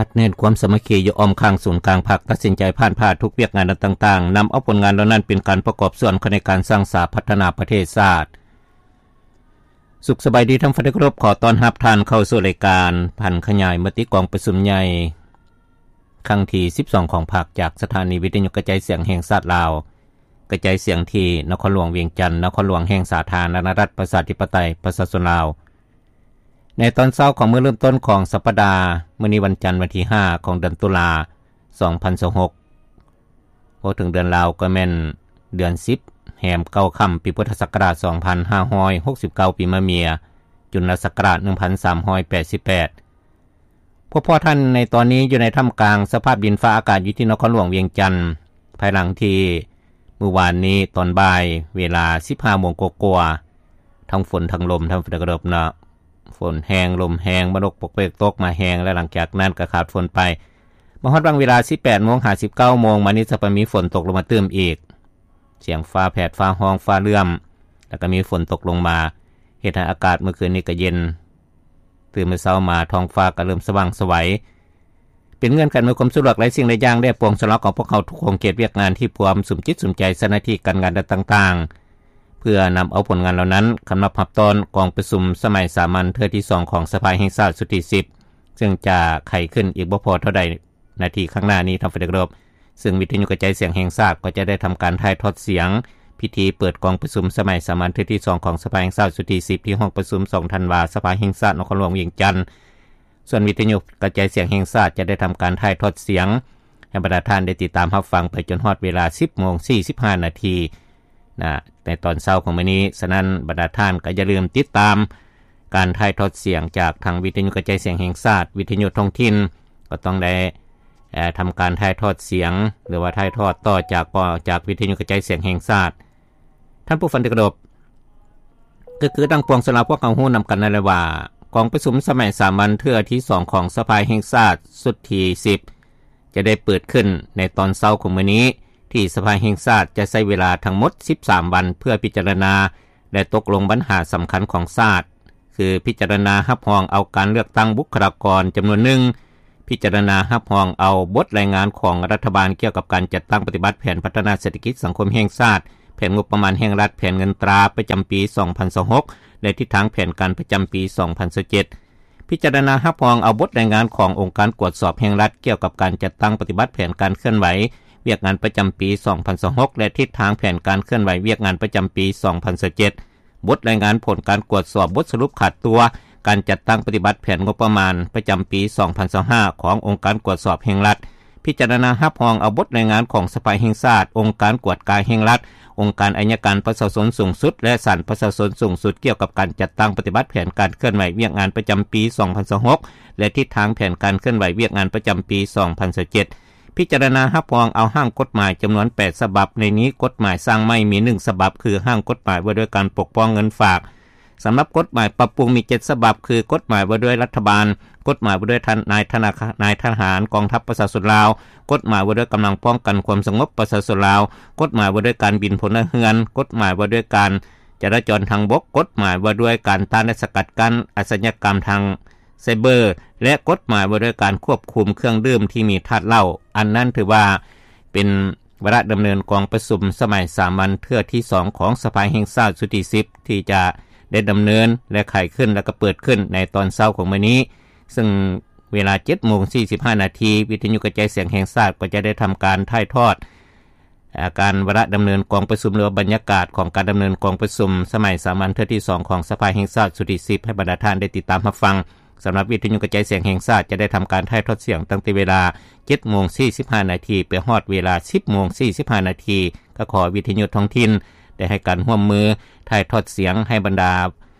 ອັດແໜ້ນຄວາມສາມັກຄີຢູ່ອ້ອມຂ້າງສູນກາງພັກ, ຕັດສິນໃຈຜ່ານຜ່າທຸກວຽກງານຕ່າງໆ, ນຳເອົາຜົນງານເຫຼົ່ານັ້ນເປັນການປະກອບສ່ວນເຂົ້າໃນການສ້າງສາພັດທະນາປະເທດຊາດ. ສຸກສະບາຍດີທ່ານຜູ້ຟັງທີ່ເຄົາລົບ, ຂໍຕ້ອນຮັບທ່ານເຂົ້າສູ່ລາຍການຜັນຂະຫຍາຍມະຕິກອງປະຊຸມໃຫຍ່ຄັ້ງທີສິບສອງຂອງພັກ ຈາກສະຖານີວິທະຍຸກະຈາຍສຽງແຫ່ງຊາດລາວ, ກະຈາຍສຽງທີ່ນະຄອນຫຼວງວຽງຈັນ, ນະຄອນຫຼວງແຫ່ງສາທາລະນະລັດປະຊາທິປະໄຕປະຊາຊົນລາວ. ໃນຕອນເຊົ້າຂອງມື້ເລີ່ມຕົ້ນຂອງສັບປະດາ, ມື້ນີ້ວັນຈັນ ວັນທີຫ້າຂອງເດືອນຕຸລາ ສອງພັນຊາວຫົກ, ເວົ້າເຖິງເດືອນລາວກໍແມ່ນເດືອນສິບ ແຮມເກົ້າຄ່ຳ ປີພຸດທະສັກກະລາດສອງພັນຫ້າຮ້ອຍຫົກສິບເກົ້າ ປີມະເມຍ, ຈຸນລະສັກກະລາດໜຶ່ງພັນສາມຮ້ອຍແປດສິບແປດ. ພວກພວກທ່ານໃນຕອນນີ້ຢູ່ໃນທ່າມກາງສະພາບດິນຟ້າອາກາດຢູ່ທີ່ນະຄອນຫຼວງວຽງຈັນ, ພາຍຫຼັງທີ່ມື້ວານນີ້ຕອນບ່າຍເວລາສິບຫ້າໂມງກວ່າໆ ທັງຝົນທັງລົມ ທ່ານຜູ້ຟັງທີ່ເຄົາລົບເນາະ, ຝົນແຮງ ລົມແຮງ ມາດົກປົກເປັກຕົກມາແຮງ ແລະ ຫຼັງຈາກນັ້ນກໍຂາດຝົນໄປ. ມາຮອດຫວ່າງເວລາສິບແປດໂມງຫາສິບເກົ້າໂມງມານີ້ ຈະໄປມີຝົນຕົກລົງມາຕື່ມອີກ. ສຽງຟ້າແຜດ ຟ້າຮ້ອງ ຟ້າເຫຼື້ອມ ແລ້ວກໍມີຝົນຕົກລົງມາ, ເຮັດໃຫ້ອາກາດມື້ຄືນນີ້ກໍເຢັນ. ຕື່ນມື້ເຊົ້າມາ ທ້ອງຟ້າກໍເລີ່ມສະຫວ່າງສະໄຫວ. ເປັນເງື່ອນໄຂອຳນວຍຄວາມສະດວກຫຼາຍສິ່ງຫຼາຍຢ່າງ ແລະ ປວງຊົນລາວຂອງພວກເຮົາທຸກຂົງເຂດວຽກງານທີ່ພວມສຸມຈິດສຸມໃຈໃສ່ໜ້າທີ່ການງານດ້ານຕ່າງໆ ເພື່ອນຳເອົາຜົນງານເຫຼົ່ານັ້ນ ຄຳນັບຮັບຕ້ອນກອງປະຊຸມສະໄໝສາມັນເທື່ອທີສອງຂອງສະພາແຫ່ງຊາດຊຸດທີສິບ ເຊິ່ງຈະໄຂຂຶ້ນອີກບໍ່ພໍເທົ່າໃດນາທີຂ້າງໜ້ານີ້ ທ່ານຜູ້ຟັງທີ່ເຄົາລົບ. ເຊິ່ງວິທະຍຸກະຈາຍສຽງແຫ່ງຊາດກໍຈະໄດ້ທຳການຖ່າຍທອດສຽງພິທີເປີດກອງປະຊຸມສະໄໝສາມັນເທື່ອທີສອງຂອງສະພາແຫ່ງຊາດຊຸດທີສິບ ທີ່ຫ້ອງປະຊຸມສອງທັນວາ ສະພາແຫ່ງຊາດນະຄອນຫຼວງວຽງຈັນ. ສ່ວນວິທະຍຸກະຈາຍສຽງແຫ່ງຊາດຈະໄດ້ທຳການຖ່າຍທອດສຽງໃຫ້ບັນດາທ່ານໄດ້ຕິດຕາມຮັບຟັງໄປຈົນຮອດເວລາສິບໂມງສີ່ສິບຫ້ານາທີນະ ໃນຕອນເຊົ້າຂອງມື້ນີ້. ສະນັ້ນບັນດາທ່ານກໍຢ່າລືມຕິດຕາມການຖ່າຍທອດສຽງຈາກທາງວິທະຍຸກະຈາຍສຽງແຫ່ງຊາດ, ວິທະຍຸທ້ອງຖິ່ນກໍຕ້ອງໄດ້ ເອີ ທຳການຖ່າຍທອດສຽງ ຫຼືວ່າຖ່າຍທອດຕໍ່ຈາກ ກໍຈາກວິທະຍຸກະຈາຍສຽງແຫ່ງຊາດ. ທ່ານຜູ້ຟັງທີ່ເຄົາລົບ, ກໍຄືດັ່ງປວງຊົນລາວພວກເຮົາຮູ້ນຳກັນນັ້ນແຫຼະວ່າ ກອງປະຊຸມສະໄໝສາມັນເທື່ອທີສອງຂອງສະພາແຫ່ງຊາດຊຸດທີສິບ ຈະໄດ້ເປີດຂຶ້ນໃນຕອນເຊົ້າຂອງມື້ນີ້ ທີ່ສະພາແຫ່ງຊາດຈະໃຊ້ເວລາທັງໝົດສິບສາມວັນ ເພື່ອພິຈາລະນາ ແລະ ຕົກລົງບັນຫາສຳຄັນຂອງຊາດ ຄືພິຈາລະນາຮັບຮອງເອົາການເລືອກຕັ້ງບຸກຄະລາກອນຈຳນວນໜຶ່ງ, ພິຈາລະນາຮັບຮອງເອົາບົດລາຍງານຂອງລັດຖະບານກ່ຽວກັບການຈັດຕັ້ງປະຕິບັດແຜນພັດທະນາເສດຖະກິດສັງຄົມແຫ່ງຊາດ, ແຜນງົບປະມານແຫ່ງລັດ, ແຜນເງິນຕາປະຈຳປີສອງພັນຊາວຫົກ ແລະ ທິດທາງແຜນການປະຈຳປີສອງພັນຊາວເຈັດ. ພິຈາລະນາຮັບຮອງເອົາບົດລາຍງານຂອງອົງການກວດສອບແຫ່ງລັດກ່ຽວກັບການຈັດຕັ້ງປະຕິບັດແຜນການເຄື່ອນໄຫວວຽກງານປະຈຳປີສອງພັນຊາວຫົກ ແລະ ທິດທາງແຜນການເຄື່ອນໄຫວວຽກງານປະຈຳປີສອງພັນຊາວເຈັດ. ບົດລາຍງານຜົນການກວດສອບບົດສະຫຼຸບຂາດຕົວການຈັດຕັ້ງປະຕິບັດແຜນງົບປະມານປະຈຳປີສອງພັນຊາວຫ້າຂອງອົງການກວດສອບແຫ່ງລັດ, ພິຈາລະນາຮັບຮອງເອົາບົດລາຍງານຂອງສະພາແຫ່ງຊາດ, ອົງການກວດກາແຫ່ງລັດ, ອົງການໄອຍະການປະຊາຊົນສູງສຸດ ແລະ ສານປະຊາຊົນສູງສຸດ ກ່ຽວກັບການຈັດຕັ້ງປະຕິບັດແຜນການເຄື່ອນໄຫວວຽກງານປະຈຳປີສອງພັນຊາວຫົກ ແລະ ທິດທາງແຜນການເຄື່ອນໄຫວວຽກງານປະຈຳປີສອງພັນຊາວເຈັດ. ພິຈາລະນາຮັບຮອງເອົາຮ່າງກົດໝາຍຈຳນວນແປດສະບັບ, ໃນນີ້ກົດໝາຍສ້າງໃໝ່ມີໜຶ່ງສະບັບ ຄືຮ່າງກົດໝາຍວ່າດ້ວຍການປົກປ້ອງເງິນຝາກ. ສຳລັບກົດໝາຍປັບປຸງມີເຈັດສະບັບ ຄື ກົດໝາຍວ່າດ້ວຍລັດຖະບານ, ກົດໝາຍວ່າດ້ວຍນາຍທະນາຄານ, ນາຍທະຫານກອງທັບປະຊາຊົນລາວ, ກົດໝາຍວ່າດ້ວຍກຳລັງປ້ອງກັນຄວາມສະຫງົບປະຊາຊົນລາວ, ກົດໝາຍວ່າດ້ວຍການບິນພົນລະເຮືອນ, ກົດໝາຍວ່າດ້ວຍການຈະລາຈອນທາງບົກ, ກົດໝາຍວ່າດ້ວຍການຕ້ານ ແລະ ສະກັດກັ້ນອາຊະຍາກຳທາງໄຊເບີ ແລະ ກົດໝາຍວ່າດ້ວຍການຄວບຄຸມເຄື່ອງດື່ມທີ່ມີທາດເຫຼົ້າ. ອັນນັ້ນຖືວ່າເປັນ ວາລະດຳເນີນກອງປະຊຸມສະໄໝສາມັນເທື່ອທີສອງຂອງສະພາແຫ່ງຊາດຊຸດທີສິບ ທີ່ຈະໄດ້ດຳເນີນ ແລະ ໄຂຂຶ້ນ ແລະ ກໍເປີດຂຶ້ນໃນຕອນເຊົ້າຂອງມື້ນີ້, ເຊິ່ງເວລາເຈັດໂມງສີ່ສິບຫ້ານາທີ ວິທະຍຸກະຈາຍສຽງແຫ່ງຊາດກໍຈະໄດ້ທຳການຖ່າຍທອດ ອາ ການວາລະດຳເນີນກອງປະຊຸມ ຫຼືວ່າບັນຍາກາດຂອງການດຳເນີນກອງປະຊຸມສະໄໝສາມັນເທື່ອທີສອງຂອງສະພາແຫ່ງຊາດຊຸດທີສິບ ໃຫ້ບັນດາທ່ານໄດ້ຕິດຕາມຮັບຟັງ. ສຳລັບວິທະຍຸກະຈາຍສຽງແຫ່ງຊາດຈະໄດ້ທຳການຖ່າຍທອດສຽງຕັ້ງແຕ່ເວລາເຈັດໂມງສີ່ສິບຫ້ານາທີ ໄປຮອດເວລາສິບໂມງສີ່ສິບຫ້ານາທີ ກໍຂໍໃຫ້ວິທະຍຸທ້ອງຖິ່ນໄດ້ໃຫ້ການຮ່ວມມືຖ່າຍທອດສຽງໃຫ້ບັນດາ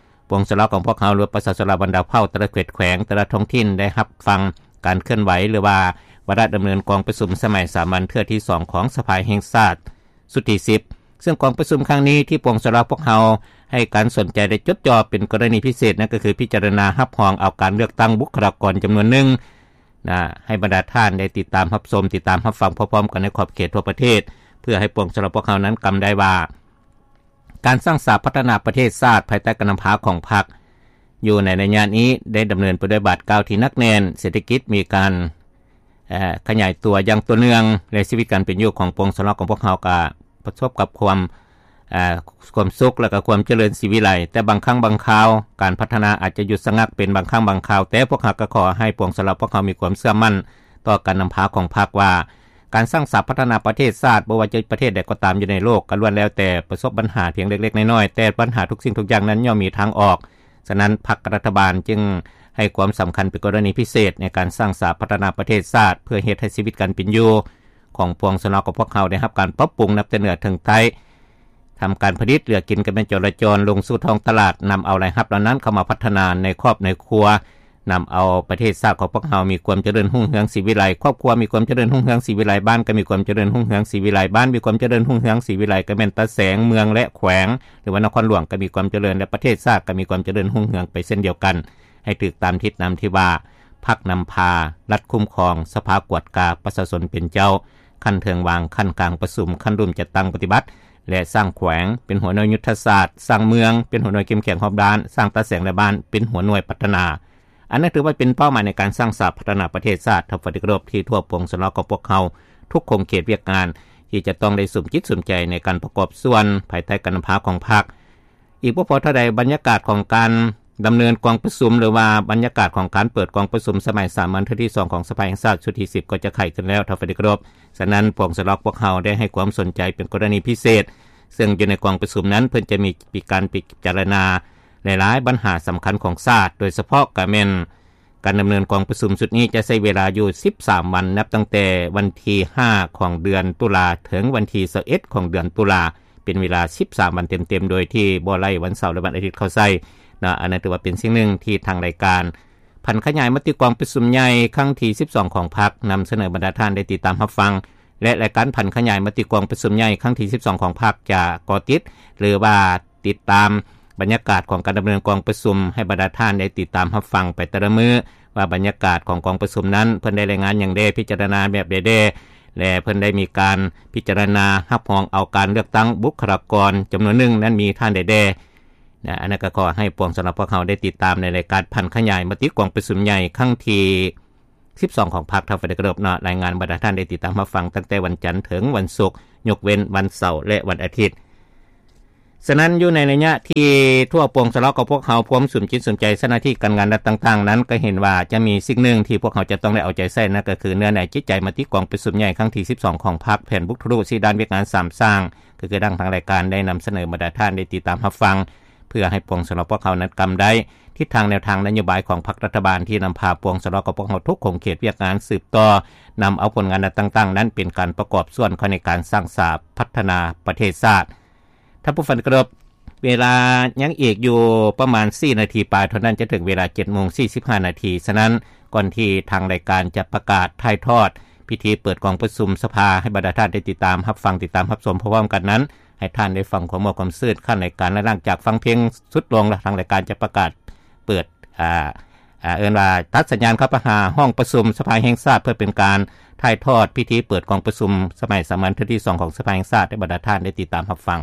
ປວງຊົນລາວຂອງພວກເຮົາ ຫຼືປະຊາຊົນລາວບັນດາເຜົ່າ ແຕ່ລະເຂດແຂວງ ແຕ່ລະທ້ອງຖິ່ນໄດ້ຮັບຟັງການເຄື່ອນໄຫວ ຫຼືວ່າວາລະດຳເນີນກອງປະຊຸມສະໄໝສາມັນເທື່ອທີສອງຂອງສະພາແຫ່ງຊາດ ຊຸດທີສິບ ເຊິ່ງກອງປະຊຸມຄັ້ງນີ້ທີ່ປວງຊົນລາວພວກເຮົາໃຫ້ການສົນໃຈ ແລະ ຈົດຈ່ອເປັນກໍລະນີພິເສດ ນັ້ນກໍຄືພິຈາລະນາຮັບຮອງເອົາການເລືອກຕັ້ງບຸກຄະລາກອນຈຳນວນໜຶ່ງນະ ໃຫ້ບັນດາທ່ານໄດ້ຕິດຕາມຮັບຊົມ ຕິດຕາມຮັບຟັງພ້ອມໆກັນໃນຂອບເຂດທົ່ວປະເທດ ເພື່ອໃຫ້ປວງຊົນລາວພວກເຮົານັ້ນກຳໄດ້ວ່າ ການສ້າງສາພັດທະນາປະເທດຊາດພາຍໃຕ້ການນຳພາຂອງພັກ ຢູ່ໃນໄລຍະນີ້ໄດ້ດຳເນີນໄປດ້ວຍບາດກ້າວທີ່ໜັກແໜ້ນ, ເສດຖະກິດມີການ ຂະຫຍາຍຕົວຢ່າງຕໍ່ເນື່ອງ ແລະ ຊີວິດການເປັນຢູ່ຂອງປວງຊະນອງຂອງພວກເຮົາກໍປະສົບກັບຄວາມ ຄວາມສຸກ ແລະ ກໍຄວາມຈະເລີນສີວິໄລ. ແຕ່ບາງຄັ້ງບາງຄາວ ການພັດທະນາອາດຈະຢຸດຊະງັກເປັນບາງຄັ້ງບາງຄາວ, ແຕ່ພວກເຮົາກໍຂໍໃຫ້ປວງຊະນອງພວກເຮົາມີຄວາມເຊື່ອໝັ້ນຕໍ່ການນຳພາຂອງພັກວ່າ ການສ້າງສາພັດທະນາປະເທດຊາດ ບໍ່ວ່າຈະປະເທດໃດກໍຕາມຢູ່ໃນໂລກ ກໍລ້ວນແລ້ວແຕ່ປະສົບບັນຫາພຽງເລັກໆນ້ອຍໆ, ແຕ່ບັນຫາທຸກສິ່ງທຸກຢ່າງນັ້ນຍ່ອມມີທາງອອກ. ສະນັ້ນ ພັກກັບລັດຖະບານຈຶ່ງໃຫ້ຄວາມສຳຄັນເປັນກໍລະນີພິເສດໃນການສ້າງສາພັດທະນາປະເທດຊາດ ເພື່ອເຮັດໃຫ້ຊີວິດການເປັນຢູ່ຂອງປວງຊະນອງຂອງພວກເຮົາໄດ້ຮັບການປັບປຸງນັບແຕ່ເໜືອເຖິງໃຕ້, ທຳການຜະລິດເຫຼືອກິນການແມ່ນຈໍລະຈອນລົງສູ່ທ້ອງຕະຫຼາດ, ນຳເອົາລາຍຮັບເຫຼົ່ານັ້ນເຂົ້າມາພັດທະນາໃນຄອບໃນຄົວ, ນຳເອົາປະເທດຊາດຂອງພວກເຮົາມີຄວາມຈະເລີນຮຸ່ງເຮືອງສີວິໄລ, ຄອບຄົວມີຄວາມຈະເລີນຮຸ່ງເຮືອງສີວິໄລ, ບ້ານກໍມີຄວາມຈະເລີນຮຸ່ງເຮືອງສີວິໄລ, ບ້ານມີຄວາມຈະເລີນຮຸ່ງເຮືອງສີວິໄລ ກໍແມ່ນຕາແສງ, ເມືອງ ແລະ ແຂວງ ຫຼືວ່ານະຄອນຫຼວງກໍມີຄວາມຈະເລີນ ແລະ ປະເທດຊາດກໍມີຄວາມຈະເລີນຮຸ່ງເຮືອງໄປເຊັ່ນດຽວກັນ, ໃຫ້ຖືກຕາມທິດນຳທີ່ວ່າ ພັກນຳພາ, ລັດຄຸ້ມຄອງ, ສະພາກວດກາ, ປະຊາຊົນເປັນເຈົ້າ, ຂັ້ນເທິງວາງ, ຂັ້ນກາງປະຊຸມ, ຂັ້ນລຸ່ມຈັດຕັ້ງປະຕິບັດ ແລະ ສ້າງແຂວງເປັນຫົວໜ່ວຍຍຸດທະສາດ, ສ້າງເມືອງເປັນຫົວໜ່ວຍເຂັ້ມແຂງຮອບດ້ານ, ສ້າງຕາແສງ ແລະ ບ້ານເປັນຫົວໜ່ວຍພັດທະນາ. ອັນນັ້ນຖືວ່າເປັນເປົ້າໝາຍໃນການສ້າງສາພັດທະນາປະເທດຊາດ ທ່ານຜູ້ເປັນທີ່ເຄົາລົບ ທີ່ທົ່ວປວງຊະນອງຂອງພວກເຮົາທຸກຂົງເຂດວຽກງານ ທີ່ຈະຕ້ອງໄດ້ສຸມຈິດສຸມໃຈໃນການປະກອບສ່ວນພາຍໃຕ້ການນຳພາຂອງພັກ. ອີກບໍ່ພໍເທົ່າໃດ ບັນຍາກາດຂອງການດຳເນີນກອງປະຊຸມ ຫຼືວ່າບັນຍາກາດຂອງການເປີດກອງປະຊຸມສະໄໝສາມັນເທື່ອທີສອງຂອງສະພາແຫ່ງຊາດຊຸດທີສິບກໍຈະໄຂຂຶ້ນແລ້ວ ທ່ານຜູ້ເປັນທີ່ເຄົາລົບ. ສະນັ້ນ ປວງຊະນອງພວກເຮົາໄດ້ໃຫ້ຄວາມສົນໃຈເປັນກໍລະນີພິເສດ, ເຊິ່ງຢູ່ໃນກອງປະຊຸມນັ້ນ ເພິ່ນຈະມີການພິຈາລະນາຫຼາຍໆບັນຫາສຳຄັນຂອງຊາດ, ໂດຍສະເພາະກໍແມ່ນ ການດຳເນີນກອງປະຊຸມຊຸດນີ້ຈະໃຊ້ເວລາຢູ່ສິບສາມວັນ ນັບຕັ້ງແຕ່ວັນທີຫ້າຂອງເດືອນຕຸລາ ເຖິງວັນທີຊາວເອັດຂອງເດືອນຕຸລາ, ເປັນເວລາສິບສາມວັນເຕັມໆ ໂດຍທີ່ບໍ່ໄລ່ວັນເສົາ ແລະ ວັນອາທິດເຂົ້າໃສ່ເນາະ. ອັນນັ້ນຖືວ່າເປັນສິ່ງໜຶ່ງທີ່ທາງລາຍການຜັນຂະຫຍາຍມະຕິກອງປະຊຸມໃຫຍ່ຄັ້ງທີສິບສອງຂອງພັກ ນຳສະເໜີບັນດາທ່ານໄດ້ຕິດຕາມຮັບຟັງ ແລະ ລາຍການຜັນຂະຫຍາຍມະຕິກອງປະຊຸມໃຫຍ່ຄັ້ງທີສິບສອງຂອງພັກ ຈະເກາະຕິດ ຫຼືວ່າ ຕິດຕາມບັນຍາກາດຂອງການດຳເນີນກອງປະຊຸມ ໃຫ້ບັນດາທ່ານໄດ້ຕິດຕາມຮັບຟັງໄປແຕ່ລະມື້ ວ່າບັນຍາກາດຂອງກອງປະຊຸມນັ້ນ ເພິ່ນໄດ້ລາຍງານຫຍັງແດ່, ພິຈາລະນາແບບໃດແດ່ ແລະ ເພິ່ນໄດ້ມີການພິຈາລະນາຮັບຮອງເອົາການເລືອກຕັ້ງບຸກຄະລາກອນຈຳນວນໜຶ່ງນັ້ນມີທ່ານໃດແດ່. ອັນນັ້ນກໍຂໍໃຫ້ປວງຊະນອງພວກເຮົາໄດ້ຕິດຕາມໃນລາຍການຜັນຂະຫຍາຍມະຕິກອງປະຊຸມໃຫຍ່ຄັ້ງທີ ສິບສອງຂອງພັກ ທ່ານຜູ້ເປັນທີ່ເຄົາລົບເນາະ, ລາຍງານບັນດາທ່ານໄດ້ຕິດຕາມຮັບຟັງຕັ້ງແຕ່ວັນຈັນເຖິງວັນສຸກ, ຍົກເວັ້ນວັນເສົາ ແລະ ວັນອາທິດ. ສະນັ້ນ ຢູ່ໃນໄລຍະທີ່ທົ່ວປວງຊະນອງຂອງພວກເຮົາພວມສຸມຈິດສຸມໃຈໃສ່ໜ້າທີ່ການງານລັດຕ່າງໆນັ້ນ, ກໍເຫັນວ່າຈະມີສິ່ງໜຶ່ງທີ່ພວກເຮົາຈະຕ້ອງໄດ້ເອົາໃຈໃສ່, ນັ້ນກໍຄືເນື້ອໃນຈິດໃຈມະຕິກອງປະຊຸມໃຫຍ່ຄັ້ງທີສິບສອງຂອງພັກ, ແຜນບຸກທະລຸ, ສີ່ດ້ານວຽກງານສາມສ້າງ, ກໍຄືດັ່ງທາງລາຍການໄດ້ນຳສະເໜີບັນດາທ່ານໄດ້ຕິດຕາມຮັບຟັງ, ເພື່ອໃຫ້ປວງຊະນອງພວກເຮົານັ້ນກຳໄດ້ ທິດທາງແນວທາງນະໂຍບາຍຂອງພັກລັດຖະບານ ທີ່ນຳພາປວງຊະນອງຂອງພວກເຮົາທຸກຂົງເຂດວຽກງານສືບຕໍ່ ນຳເອົາຜົນງານອັນຕ່າງໆນັ້ນ ເປັນການປະກອບສ່ວນເຂົ້າໃນການສ້າງສາພັດທະນາປະເທດຊາດ. ທ່ານຜູ້ຟັງທີ່ເຄົາລົບ, ເວລາຍັງອີກຢູ່ປະມານສີ່ນາທີປາຍເທົ່ານັ້ນ ຈະເຖິງເວລາເຈັດໂມງສີ່ສິບຫ້ານາທີ. ສະນັ້ນ, ກ່ອນທີ່ທາງລາຍການຈະປະກາດຖ່າຍທອດພິທີເປີດກອງປະຊຸມສະພາ ໃຫ້ບັນດາທ່ານໄດ້ຕິດຕາມຮັບຟັງ, ຕິດຕາມຮັບຊົມພ້ອມໆກັນນັ້ນ, ໃຫ້ທ່ານໄດ້ຟັງຄວາມມ່ວນຄວາມຊື່ນຂັ້ນລາຍການ ແລະ ຫຼັງຈາກຟັງເພງສຸດລົງແລ້ວ ທາງລາຍການຈະປະກາດເປີດ ອ່າ ອ່າ ເອີ້ນວ່າຕັດສັນຍານເຂົ້າໄປຫາຫ້ອງປະຊຸມສະພາແຫ່ງຊາດ ເພື່ອເປັນການຖ່າຍທອດພິທີເປີດກອງປະຊຸມສະໄໝສາມັນເທື່ອທີສອງຂອງສະພາແຫ່ງຊາດ ໃຫ້ບັນດາທ່ານໄດ້ຕິດຕາມຮັບຟັງ.